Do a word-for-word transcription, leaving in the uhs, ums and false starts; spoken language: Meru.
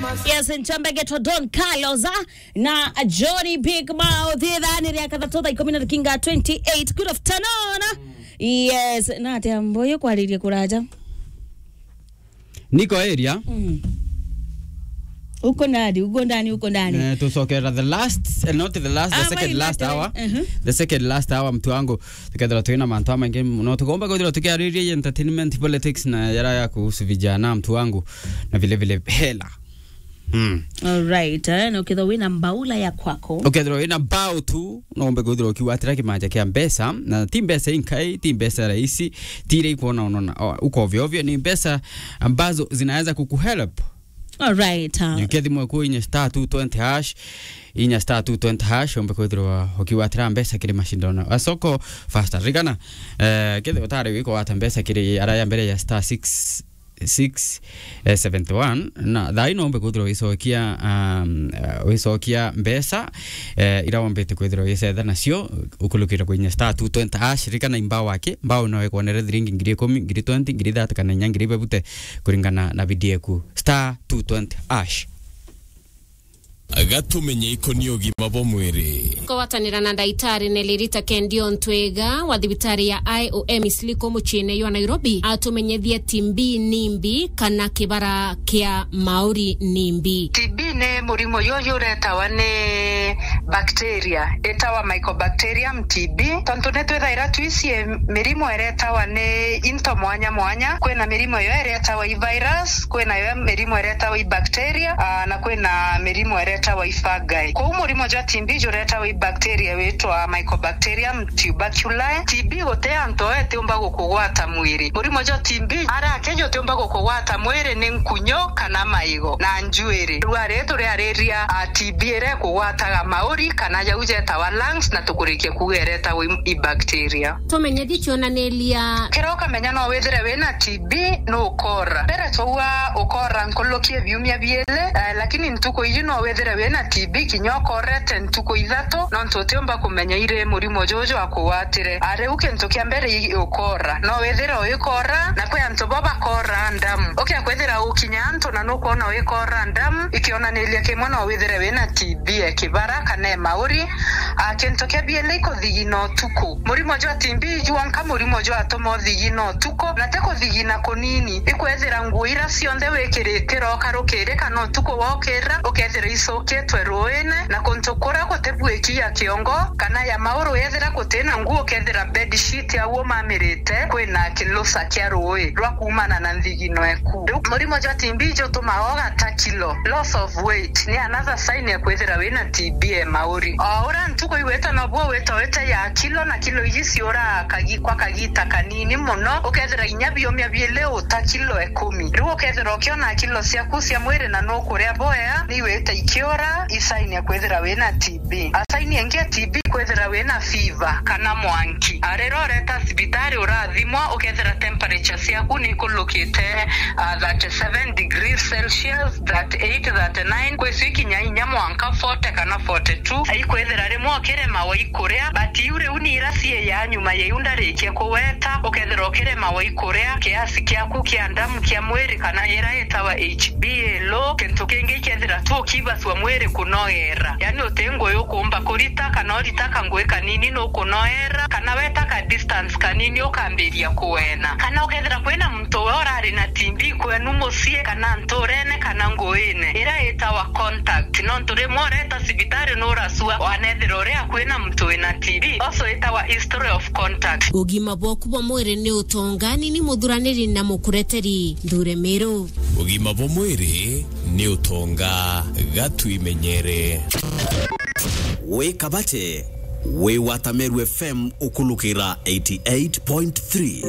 Yes, nchamba geto Don Carlos, ah, na Johnny Big Mouth. Ithaa ni ria kathatu, thaa ikumi na dakinga twenty-eight. Good afternoon. Yes, na atia mboyo kwariria kuraja. Niko area. Mm. Uko ndani, uko ndani, uko ndani. Eh, tucokera the last, eh, not the last, the Ah, second last hour. Mhm. The second last hour, mtu wangu. Tukethira twina mantu amaingi muno. Tugomba kwithirwa tukiariria entertainment, politics na yara ya kuhusu vijana, mtu wangu. Na vile vile hela. Mm. All right, eh, na ukethirwa wina mbaula ya kwako. Ukethirwa wina mbao tu, no umbe kwithirwa ukiwatira kimanja kia mbeca, na ti mbeca inkai, ti mbeca rahisi, ti ile ikuona unaona, oh, uko ovyo ovyo, ni mbeca ambazo zinaweza kukuhelp. All right, uh. Jukia thimu yaku inya star two twenty hash, inya star two twenty hash, umbe kwithirwa ukiwatira mbeca kiri mashindano a soko faster. Ririkana, eh, kethirwa utari wiko wata mbeca kiri ara ya mbere ya star six six, eh, seventy one, na thaa ino umbe kwithirwa wicokia, um, eh, wicokia mbeca, eh, ira wombete kwithirwa wicetha nacio, ukulukira kwinya star two twenty hash. Ririkana imbao aki, mbao no ikwonere thiringi ngiri ikumi, ngiri twenty, ngiri thirty kana inya ngiri bebute kuringana na bidii eku. Star two twenty hash. Gatumenye ikoni ugima bwa mwiri. Kugwatanira na ndaitari Nelly Rita Kendio Ntwega wa thibitari ya I O M Isliko muciine jwa Nairobi, atumenyethie T B ni mbi kana kibara kia mauri ni mbi. T B ni murimo juju uretawa ni bacteria itawa Mycobacterium T B. Tontu ni twithaira twicie mirimo iretawa ni into mwanya mwanya, kwina mirimo iyo iretawa i virus, kwina yo mirimo iretawa i bacteria, ah, na kwina mirimo iretawa i fungi. Kwou murimo jwa T B juretawa i bacteria witwa Mycobacterium tuberculosis. T B guti antu o itiumba gukugwata mwiri. Murimo jwa T B ara akeja utiumba gukugwata mwiri ni nkunyo kana maigo na njuiri. Riu ari turiariria, ah, T B iria ikugwataga mauri kana jau jetawa lungs, na tukurikia kuuga iretawa i, i bacteria. Tumenyethie cionaniria. Kiria ukamenya no withire wina T B, ni ukora. Mbere twaua ukora nkuluki biumia biili, eh, lakini ntuku iji no withire wina T B kinya ukorete ntuku ithatu, nontu utiumba kumenya iri murimo juju akugwatire. Ah, riu kintu kia mbere i ukora. No withire uikora, na kwi antu bo bakora ndamu. Ukia kwithira ukinya antu na nukwona uikora ndamu, ikionaniria kimwe no withire wina T B e kibara kana e mauri. Ah, kintu kia biili ikuthigina utuku. Murimo jwa T B jwanka murimo jwatuma uthigina utuku, na ti kuthigina kunini. Ikwethira nguo ira cionthe wikirite iroka rukiri kana utuku wokira, ukethira icukitwe ruine, na kuntu kuria guti bwiki ya kiongo kana ya mauru, yethira gutina nguo, ukethira bedsheet au umamirite kwina kilusa kia rui rwa kuumana na nthigino eku. Riu murimo jwa T B jutumaga ugata kilo, loss of weight, ni another sign ya kwithira wina T B e mauri. O uria ntuku igwita nobuo wita wita ya kilo, na kilo iji ciura kagi-, kwa kagita kanini muno, ukethira inya biumia biili uta kilo ikumi. Riu ukethira ukiona kilo ciaku cia mwiri na nukuria bwea, ni wita ikiura, i sign ya kwithira wina T B. A sign ingi ya T B kwithira wina fever kana mwanki. A, riria ureta cibitari urathimwa, ukethira temperature ciaku ni ikulukite, a, thirty seven degrees Celsius, thirty eight, thirty nine, kwi cio ikinya inya mwanka forty kana forty two. Ikwithira rimwe ukiremawa i kuria, but iu riu ni ira cii ya nyuma ya iu ndarikia kugweta, ukethira ukiremawa i kuria, kiasi kiaku kia ndamu kia mwiri kana ira itawa H B A low, kintu kingi ikethira tu ukibacua mwiri kunogera. Yani uti ngugi ukumba kurita kana urita kangugi kanini nukunoera, kana weta ka distance kanini ukambiria kuena. Kana ukethira kwina muntu we urari na T B kwenu mucii kana nturene kana nguine, ira itawa contact. Nontu rimwe ureta cibitari nuracua wanethira uri akui na muntu wina T B, also itawa history of contact. Ugima bwaku bwa mwiri ni utonga, ni ni muthuraniri na mukureteri Nthure Miru. Ugima bwa mwiri ni utonga, gatwimenyere. Wi Kabati, wi wa Tameru F M ukulukira eighty eight point three.